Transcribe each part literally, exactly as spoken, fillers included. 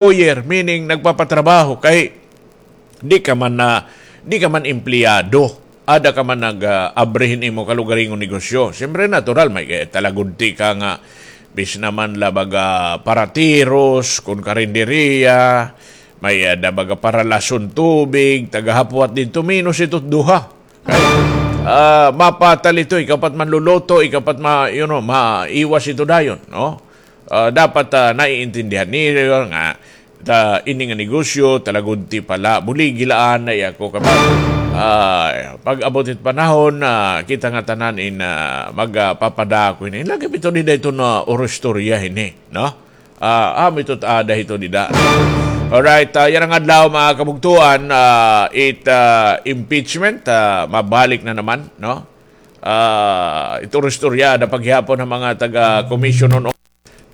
employer, meaning nagpapatrabaho, kay di ka man na, di ka man empleyado. Ada ka man nag, ah, abri hin imo kalugaringon negosyo. Siyempre, natural, may, eh, talagudti ka nga, bis naman la baga paratiros, kun karinderiya, may ada baga paralason tubig, tagahapwat didto, menos ito duha. Kay, ah, mapatal ito, ikaw pa't manluluto, ikaw pa't ma-, you know, maiwas ito dayon, no? Ah, dapat, ah, naiintindihan niyo nga, ta, ini nga negosyo, talagudti pala, buligi la anay ako, kapag, ah, pag-abot it panahon, ah, kita ngatanan in, ah, magpapadako ini. Lagi ito dida ito nga oroistorya ini, no? Ah, amo ito, ada ito dida. Alright, ah, yana nga adlaw, mga kabugtoan, ah, it, ah, impeachment, ah, mabalik na naman, no? Ah, it oroistorya, ada pa gihapon an mga taga-Commission on,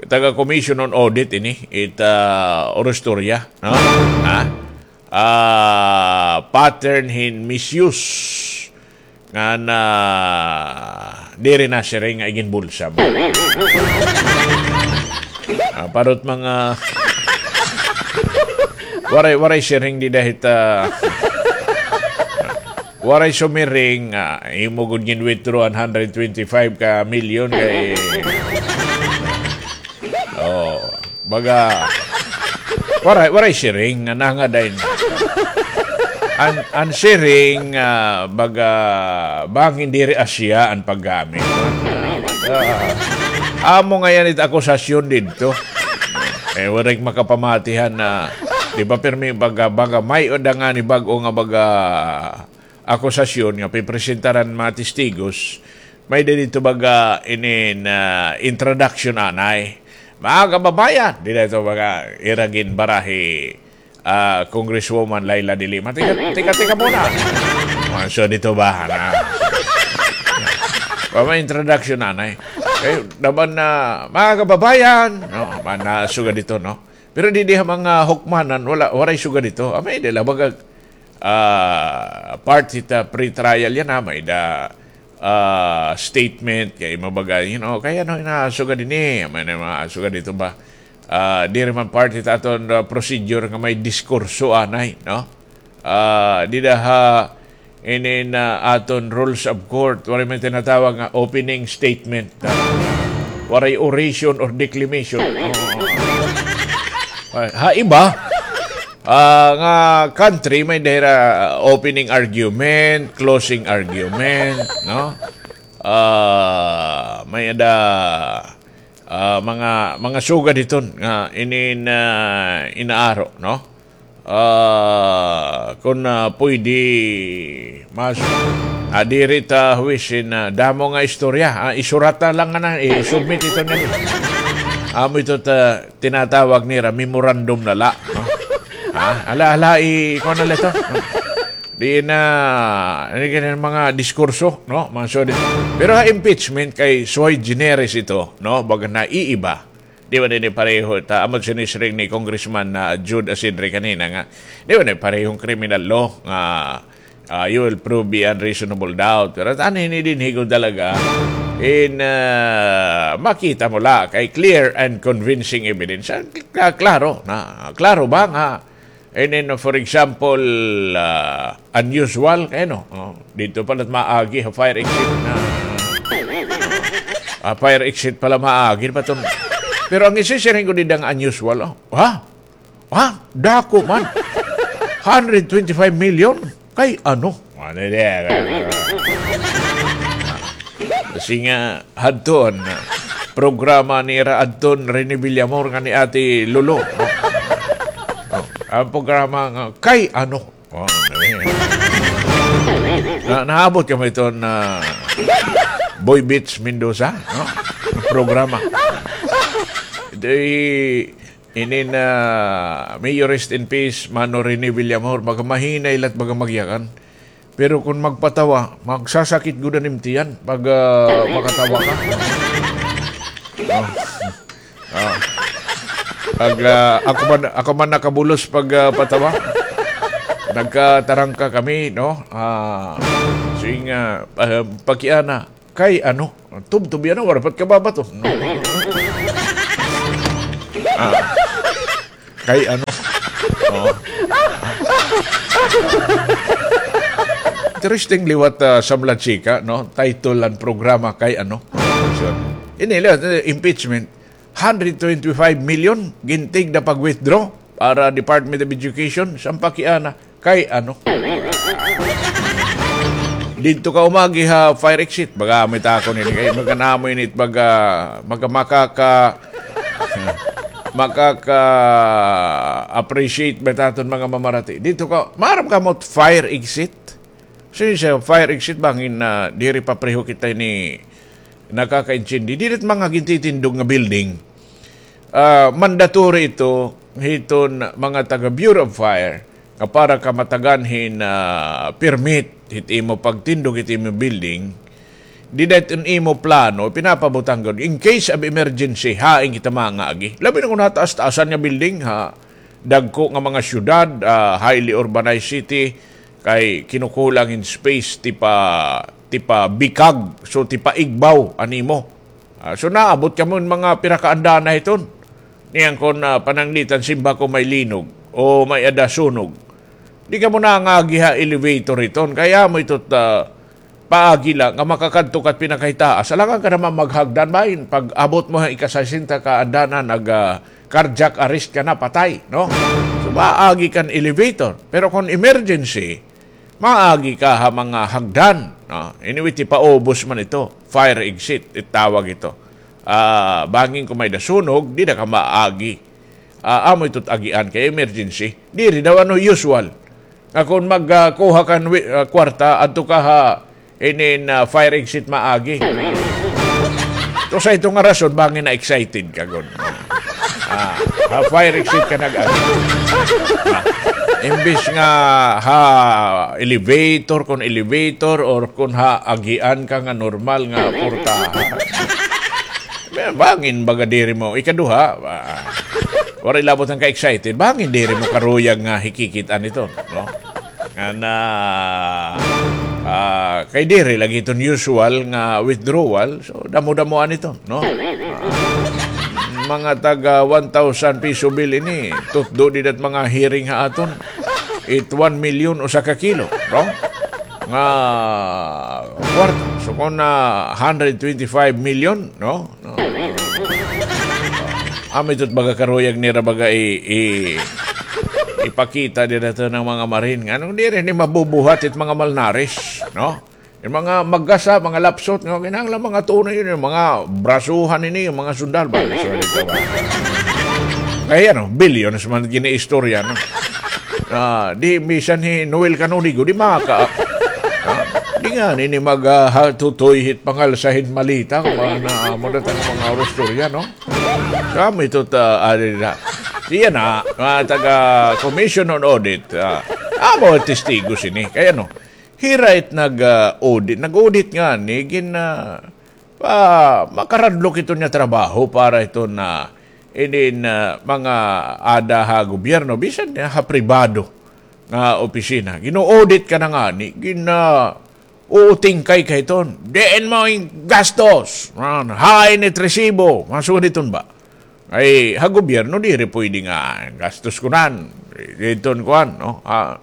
taga-Commission on Audit ini, it, ah, oroistorya, no? Ha? Ah, pattern hin misuse. Ngan diri nasiring nga iginbulsa mo. Ah, parot mga waray, waray siring dida hit, ah, waray sumiring, ah, imo gud gin-withdraw an hundred twenty-five ka milyon kay, oh, baga, waray, waray siring nga nangadayon. An, an siring, ah, baga, bangin diri asya an paggamit. Ah, amo ngay-an it akusasyon didto. Eh, waray makapamatihan na, di ba, pirmi baga, baga may-ada ngani bag-o nga baga, akusasyon nga pipresentaran mga testigos, may-ada didto baga inin, ah, introduction anay. Mga kababayan, dida ito baga ira ginbara hi, ah, Congresswoman Leila de Lima. Tika, tika, tika muna. Manso dito ba? Na. Pama introduction anay. Eh, naman na, mga kababayan, no, man na sugad dito, no? Pero didi ha mga hukmanan, wala, waray sugad dito. Amay, dila baga, ah, part hit, ah, pre-trial yana, may-ada, ah, statement, kay mabaga, you know, kay ano, nasugad ini, may na mga sugad dito ba? Ah, diri man part hit aton, ah, procedure nga may diskurso anay, no? Ah, dida ha, inin, ah, aton rules of court, waray man tinatawag nga opening statement. Ah, waray oration or declamation. Oo. Ay, ha iba, ah, nga country, may-ada hira opening argument, closing argument, no? Ah, may-ada, ah, mga, mga sugad hiton nga inin, ah, inaaro, no? Ah, kun, ah, pwede, mas, ah, diri ta huwisin, ah, damo nga istorya. Ah, isurat na lang nga na, i-submit ito na. Amo ito ta, tinatawag nira, memorandum na la, no? Ah, ala, ala, i-, kuha na la ito. Di na, ano ka na mga diskurso, no? Mga sugad. Pero ha impeachment kay sui generis ito, no? Baga naiiba. Di ba ini pareho, ta, amo it sinisiring ni Congressman na Jude Asidre kanina nga, di ba ini parehong criminal law nga, ah, you will prove beyond reasonable doubt. Pero tani ini dinhi ko talaga in, ah, makita mo la kay clear and convincing evidence. Ah, kla-, klaro na, klaro ba nga And then, for example, ah, unusual, kay ano, oh, didto pala maagi ha fire exit na, ah, fire exit pala maagi pa ton. Pero an isisiring ko dida nga unusual, oh. Ha? Ha? Dako man. Hundred twenty-five million? Kay ano? Ano diyan? Kasi nga, hadton, programa nira hadton Rene Villamor ngan ni Ate Lolo, no? Oh, an programa nga, kay ano? Oh, ano yan? Na, naabot kamo iton, ah, Boy Beats Mendoza, no? Programa. Ito, inin, ah, may you rest in peace, Mano Rene Villamor, baga mahinay la it baga magyakan. Pero kon magpatawa, magsasakit gud an im tiyan pag, ah, makatawa ka. Oh. Ah. Pag, ah, ako man, ako man nakabulos pag, ah, patawa. Nagkatarangka kami, no? Ah, sige nga, ah, pakiana. Kay ano, tubtub yana, waray pa it kababato. Ah. Kay ano? Oo. Interesting liwat, ah, samlad sika, no? Title han programa, Kay Ano? So, ini liwat, eh, impeachment. Hundred twenty-five million, gintigda pag-withdraw para Department of Education, sampaki ana. Kay ano? Didto ka umagi ha fire exit, baga may takon ini kay baga namo ini it baga, baga makaka-, makaka-appreciate ba it aton mga mamarati. Didto ka, maaram ka mo it fire exit? Sige, sa fire exit bangin na diri pa pareho kita ini nakakaintindi. Diri it mga gintitindog nga building. Ah, mandatory ito hiton mga taga Bureau of Fire nga para ka matagan hin, ah, permit hit imo pagtindog hit imo building. Dida it imo plano, pinapabutang gud. In case of emergency, hain kita mangaagi. Labi na kon ha taas-taasan nga building, ha dagko nga mga syudad, ah, highly urbanized city, kay kinukulang in space, tipa, tipa bikag, so tipa igbaw an imo. Ah, so naabot kamo hin mga pira ka andana hiton. Niyan kon, ah, pananglitan simba ko may linog o may-ada sunog. Di kamo nangagi ha elevator hiton. Kay amo ito, ah, paagi la nga makakadto ka ha pinakahitaas. Alangan ka naman maghagdan ba hin pag-abot mo ha ika-sesenta ka andana nag, ah, cardiac arrest ka na, patay, no? So, maagi kan elevator. Pero kon emergency, maagi ka ha mga hagdan, no? Anyway, tipaubos man ito. Fire exit, itawag ito. Ah, bangin kon may-ada sunog, dida ka maagi. Ah, amo ito it agian kay emergency. Diri daw ano usual. Nga kon mag, ah, kuha kan wi-, ah, kwarta, adto ka ha inin, ah, fire exit maagi. To sa ito nga rason, bangin na-excited ka gud. Ah, ha fire exit ka nag-agi. Ah, imbis nga ha elevator, kon elevator, or kon ha agian ka nga normal nga portahan. Bangin baga diri mo, ikaduha, ah, waray labot nga ka-excited, bangin diri mo karuyag nga hikikit-an ito, no? Nga na, ah, kay diri lagi iton usual nga withdrawal, so damo-damoan ito, no? Ah, mga taga one thousand peso bill ini, tutdo dida it mga hearing ha aton. It one million usa ka kilo, no? Nga kwarta. So, kon na hundred twenty-five million, no? No. Amo ito it baga karuyag nira baga i-, i-, ipakita dida to han mga Marine. Nganong diri ini mabubuhat it mga malnares, no? It mga maggasa, mga lapsot, nga kinahanglan mga tunay ini, mga brasuhan ini, mga sundalo ba? Sorry, ito ba? Kay ano, billions man giniistorya, no? Ah, di, bisan hi Noel Canonigo, di maka-, ah, di ngani ini mag, ah, ha-, tutoy hit pangalsa hin malita, kon mga na, amo na tang mga istorya, no? Kami ito, ah, adi na. Siya na, mga taga Commission on Audit, ah, amo testigo sini. Kay ano, hira it nag, ah, audit. Nag-audit ngani, gin, ah, pa, makaradlok ito nga trabaho para ito na, inin, ah, mga ada ha gobyerno, bisan ha pribado nga opisina. Gin-audit ka na ngani, gin, ah, uutingkay ka hiton. Diin mo in gastos? Ah, hain it resibo? Mga sugad hiton ba? Ay, ha gobyerno, diri pwede nga gastos kunan. Hiton kuan, no? Ah,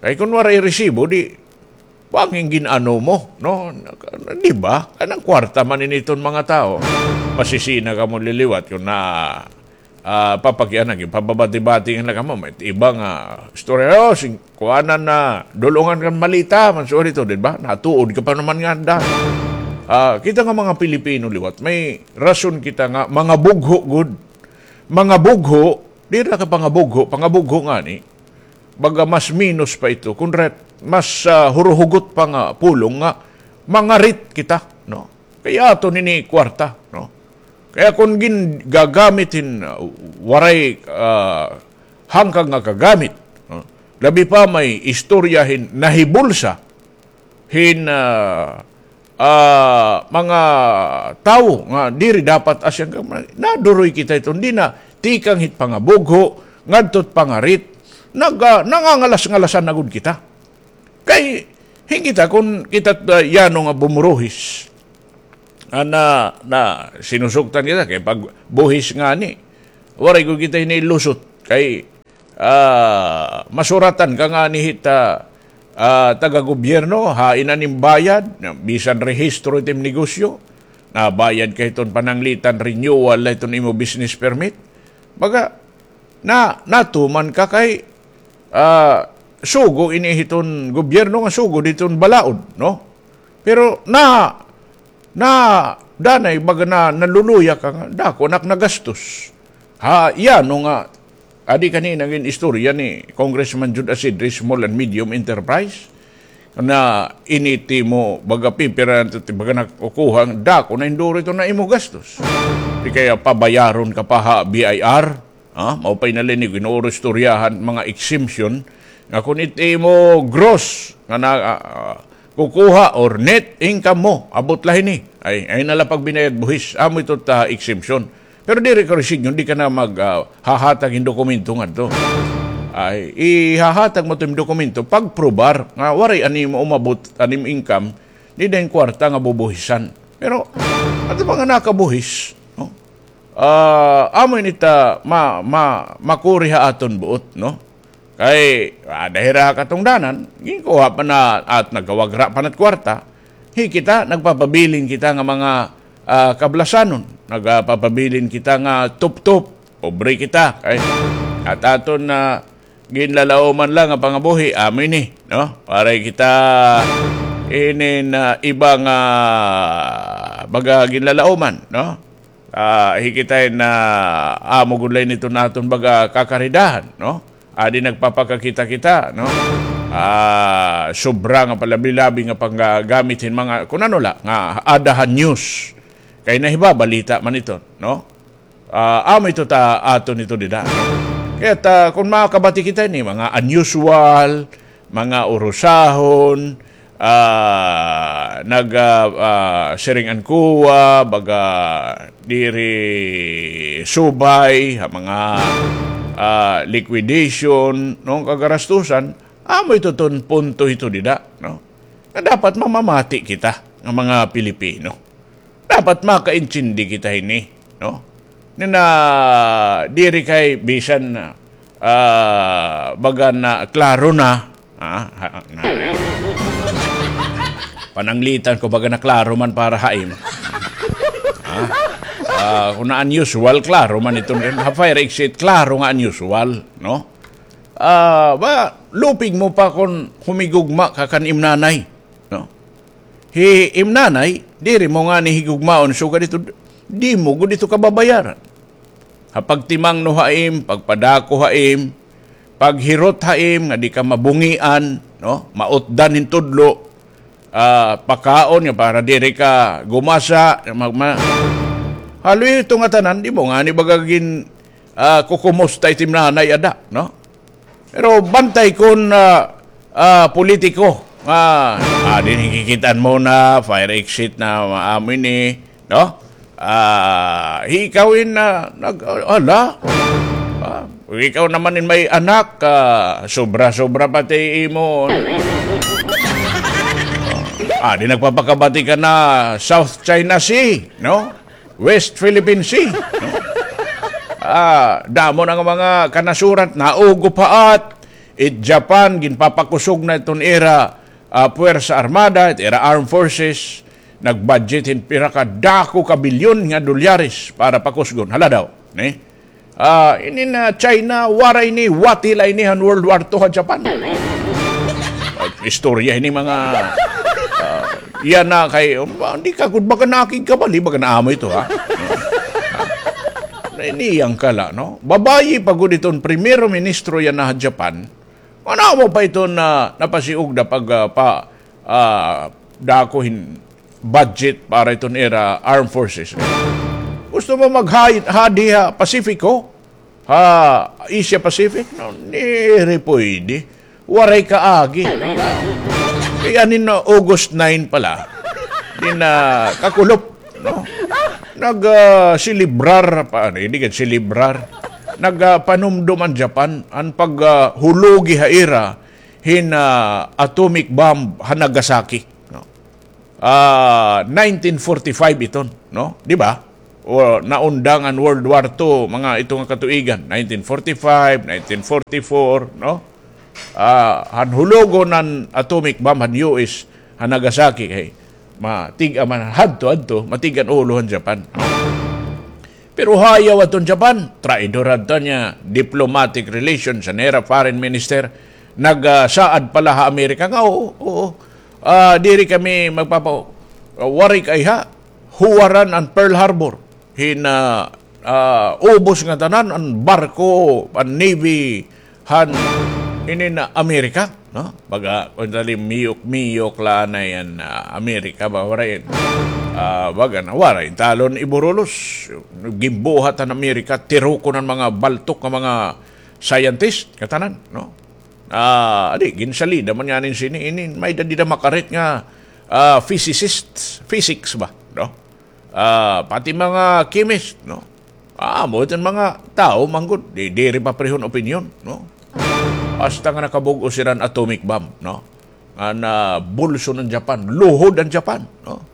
kay kun waray resibo, di, bangin gin-ano mo, no? Di ba? Kanang kwarta man ini hiton mga tawo. Masisina kamo liliwat kun na, ah, papakiana, ginpababati-bati na kamo. May iba nga istorya, oh, sing-, kuanan na, dulungan kan malita, man, sorry to, di ba? Natuod ka pa naman nga, da. Ah, kita nga mga Pilipino liwat, may rason kita nga, mga bugho, gud. Mga bugho, diri na ka pangabugho, pangabugho ngani. Baga mas minus pa ito. Kun ret-, mas, ah, huruhugot pa nga pulong nga mangarit kita, no? Kay aton ini kwarta, no? Kaya kun gin-, gagamit hin, ah, waray, ah, hangkang nga kagamit, no? Labi pa may istorya hin nahibulsa hin, ah, ah, mga tawo nga diri dapat asya nga naduroy kita ito. Hindi na tikang hit pangabugho, ngadto hit pangarit, nag-, ah, nangangalas-ngalasan na gud kita. Kay, hin kita, kun kita, ah, yano nga bumuruhis, ah, na, na sinusugtan kita, kay pag buhis ngani, waray gud kita ini lusot. Kay, ah, masuratan ka ngani hit, ah, ah, taga-gobyerno, hain an im bayad, bisan rehistro it im negosyo, nabayad ka hiton pananglitan, renewal la hiton imo business permit. Baga, na, natuman ka kay, ah, sugo ini hiton gobyerno nga sugo diton balaod, no? Pero na, na, danay, baga na, naluluya ka nga, dako na ak nagastos. Ha, yana nga, adi kanina gin-istorya ni Congressman Jude Asidre, small and medium enterprise, na ini it imo, baga, pipira, baga, nakukuha, dako na hinduro ito na imo gastos. Di kaya pabayaron ka pa ha B I R, ha? Mao pa ini la ini, gin-uuro istoryahan, mga exemption, nga kun it imo gross, nga na, ah, ah, kukuha or net income mo, abot la hini. Ay, ay na la pagbinayad buhis, amo ito ta exemption. Pero diri ka resignation, di ka na mag, ah, hahatag hin dokumento ngadto. Ay, ihahatag mo it im dokumento, pagprobar nga waray an imo umabot, an im income, dida hin kwarta nga bubuhisan. Pero, ato pa nga nakabuhis, no? Ah, amo ini ta ma, ma, makuri ha aton buot, no? Kay, ada hira katungdanan, ginkuha pa na, at nagawagra pa na it kwarta, hi kita, nagpapabilin kita nga mga, ah, kablasanon, nagpapabilin kita nga tuptop, pobre kita, kay, at aton na ginlalauman la nga pangabuhi, amo ini, no? Waray kita ini na iba nga baga ginlalauman, no? Ah, hi kita na amo gud la ini iton aton baga kakaridahan, no? Adi nagpapakakita-kita, no? Ah, sobra nga palabi-labi nga panggagamit hin mga, kun ano la, nga ada ha news. Kay nahibabalita man ito, no? Ah, amo ito ta aton ito dida, no? Kaya ta, kun makabati kita ini, mga unusual, mga urusahon, ah, nag, ah, ah, siring an kuwa, baga diri subay, ha mga, ah, liquidation, no, kagarastusan, amo ito ton punto ito dida, no? Nga dapat mamamati kita nga mga Pilipino. Dapat makaintindi kita hini, no? Nga na diri kay bisan, ah, baga na klaro na, ah, ha, na. Pananglitan ko baga na klaro man para ha im. Ah, ah, kun na unusual, klaro man iton, ha fire exit, klaro nga unusual, no? Ah, ba, lupig mo pa kun humigugma ka kan im nanay, no? Hi im nanay, diri mo ngani higugmaon, sugad ito, di mo gud ito kababayaran. Ha pagtimangno ha im, pagpadako ha im, paghirot ha im, nga di ka mabungian, no? Mautdan hin tudlo, ah, pakaon nga para diri ka gumasa, mag-, ma-, haloy ito nga tanan, di mo ngani baga gin, ah, kukumusta it im nanay ada, no? Pero bantay kun, ah, ah, politiko, ah, ah, dinhi kikit-an mo na, fire exit na, amo ini, no? Ah, ikaw in, ah, nag-, ala? Ah, ikaw naman in may anak, ah, sobra-sobra pati imo. Ah, di nagpapakabati ka na South China Sea, no? West Philippine Sea, no? Ah, damo na nga mga kanasuran, naugo pa at it Japan, ginpapakusog na iton ira, ah, puwersa armada, it ira armed forces, nag-budget hin pira ka dako ka bilyon nga dolyares para pakusgon. Hala daw, ni? Ah, ini na China, waray ni, wati la ini han World War Two ha Japan. Ay, istorya ini mga, ah, yana kay, um, hindi ka gud baga nakigkabali, baga na amo ito, ha? Nainiyang ka la, no? Babayi pa gud iton primero ministro yana ha Japan. Ano mo pa iton na napasiugda pag, ah, pa, ah, dako hin budget para iton ira armed forces. Gusto mo maghayit hadi ha Pacifico? Ha Asia Pacific? No, diri pwede. Waray kaagi. Kay anin na August nine pala. Di na kakulop, no? Nag, ah, selebrar pa, ano, hindi ka selebrar. Nag, ah, panumdum an Japan, an pag, ah, hulugi ha ira, hin, ah, atomic bomb ha Nagasaki, no? Ah, nineteen forty-five iton, no? Di ba? o naundang an World War Two, mga ito nga katuigan, nineteen forty-five, nineteen forty-four, no? Ah, han hulogon an atomic bomb han U S, han Nagasaki, kay matig-a man hadto-hadto, matig-a an ulo han Japan. Pero hayaw adton Japan, traidor adto niya, diplomatic relations, an ira foreign minister, nagsaad pa la ha Amerika nga, oo, oo, ah, diri kami magpapa-, ah, waray kay ha, huwaran an Pearl Harbor. Hin, ah, ah, ubos nga tanan, an barko, an navy, han inin Amerika, no? Baga, kun dali, miyok-miyok la anay an, ah, Amerika ba, waray, ah, baga na, waray talon iburulos. Ginbuhat han Amerika, tirukon an mga baltok nga mga scientist, nga tanan, no? Ah, adi, ginsalida man ngani sini, inin, may-ada dida makarit nga, ah, physicist, physics ba, no? Ah, pati mga chemist, no? Ah, amo iton mga tawo man gud, di, diri paparehon opinyon, no? Hasta nga nakabug-os hira hin atomic bomb, no? Nga nabulso an Japan, luhod an Japan, no?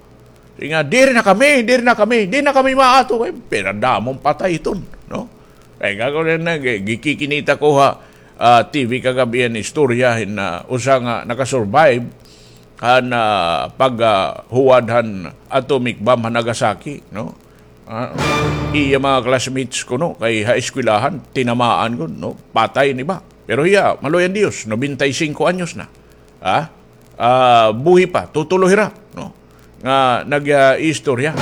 Siring nga, "Diri na kami, diri na kami, di na kami maato." Eh, pinadamo an patay iton, no? Kay ako rin na, gi-, gikikinita ko ha, ah, T V kagab-i an istorya hin, ah, usa nga nakasurvive han, ah, pag, ah, huwad han atomic bomb han Nagasaki, no? Ah, iya mga classmates kuno, kay ha eskwelahan, tinamaan gud, no? Patay an iba. Pero hiya, maluoy an Diyos, nobenta y singko anyos na. Ha? Ah, buhi pa, tutulo hira, no? Nga nag, ah, istorya.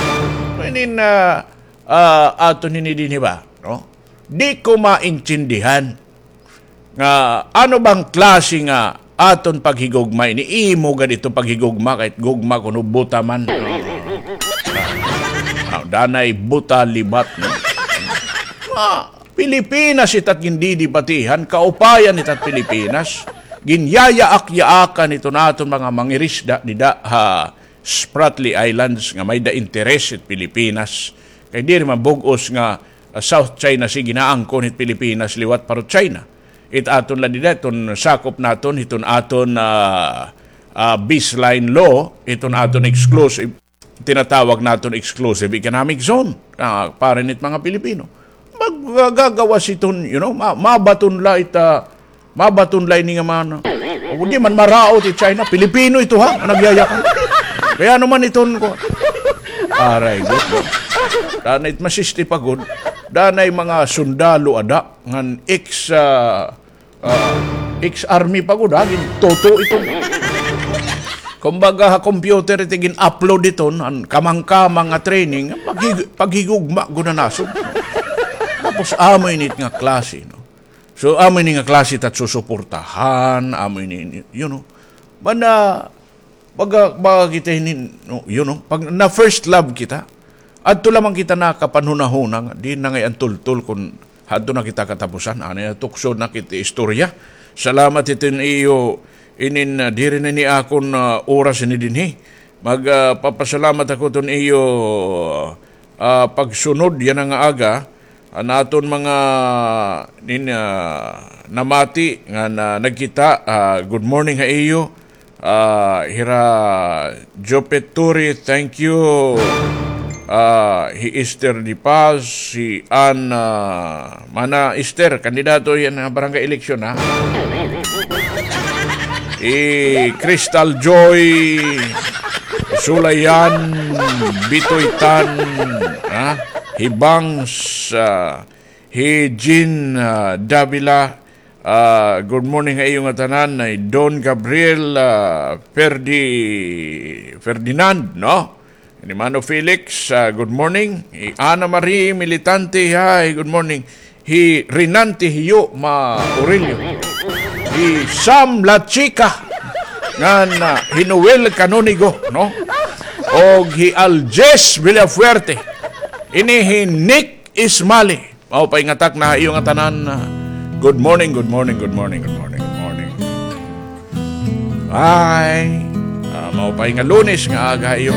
Inin, ah, ah, aton hini dinhi ba, no? Di ko maintindihan nga ano bang klase nga aton paghigugma ini, imo gad ito paghigugma, kahit gugma kuno buta man. Ah, danay buta libat, no? Ah, Pilipinas itat gindidibatihan, kaupayan itat Pilipinas. Ginyayaak-yaakan iton aton mga mangirisda dida ha Spratly Islands nga may-ada interes it Pilipinas. Kay diri man bug-os nga, ah, South China Sea ginaangkon hit Pilipinas liwat parot China. It aton la dida, iton sakop naton, iton aton, ah, ah, baseline law, iton aton exclusive, tinatawag naton exclusive economic zone. Ah, para nit mga Pilipino. Magagawas iton, you know, ma-, mabaton la it, ah, mabaton la ini nga mana. O, di man maraot it China, Pilipino ito ha, nga nagyayakan. Kay ano man iton ko. Aray, gud, no? Danay it masisti pa gud. Danay mga sundalo ada, ngan ex, ah, ah, ex-army pa gud, ha? Gintuto ito. Kumbaga, ha computer ito, gin-upload ito, an kamang-kamang nga training, paghig-, paghigugma gud na nasod. Tapos, amo ini nga klase, no? So, amo ini nga klase tat susuportahan, amo ini, you know. Mana, baga, baga kita hinin, no, you know, pag na first love kita, adto lamang kita nakapanhunahuna nga, di na ngay-an tultol kun hadto na kita katapusan, anay na tukso na kita istorya. Salamat iton iyo, inin, ah, diri na ini akon, ah, oras ini dinhi. Mag, ah, papasalamat ako iton iyo, ah, pagsunod yana nga aga. An aton mga nin-, ah, namati nga na, nagkita, ah, good morning ha iyo. Ah, hira Jopet Turi, thank you. Ah, hi Esther Di Paz, hi Ann, ah, Mana Esther, kandidato yana ha barangay eleksyon, ha? Hi Crystal Joy, Sulayan, Bitoy Tan, ha? Hi Bangs, ah, hi Jean, ah, Davila, ah, good morning ha iyo ngatanan, hi Don Gabriel, ah, Ferdi-, Ferdinand, no? Ni Mano Felix, ah, good morning. Hi Ana Marie Militante, hi, good morning. Hi Renante Hiyo Ma Aurelio. Hi Sam La Chica. Ngan, ah, hi Noel Canonigo, no? Og hi Aljes Villafuerte. Ini hi Nick Ismali. Maupay nga takna ha iyo ngatanan. Good morning, good morning, good morning, good morning, good morning. Ay, ah, maupay nga Lunes nga aga ha iyo.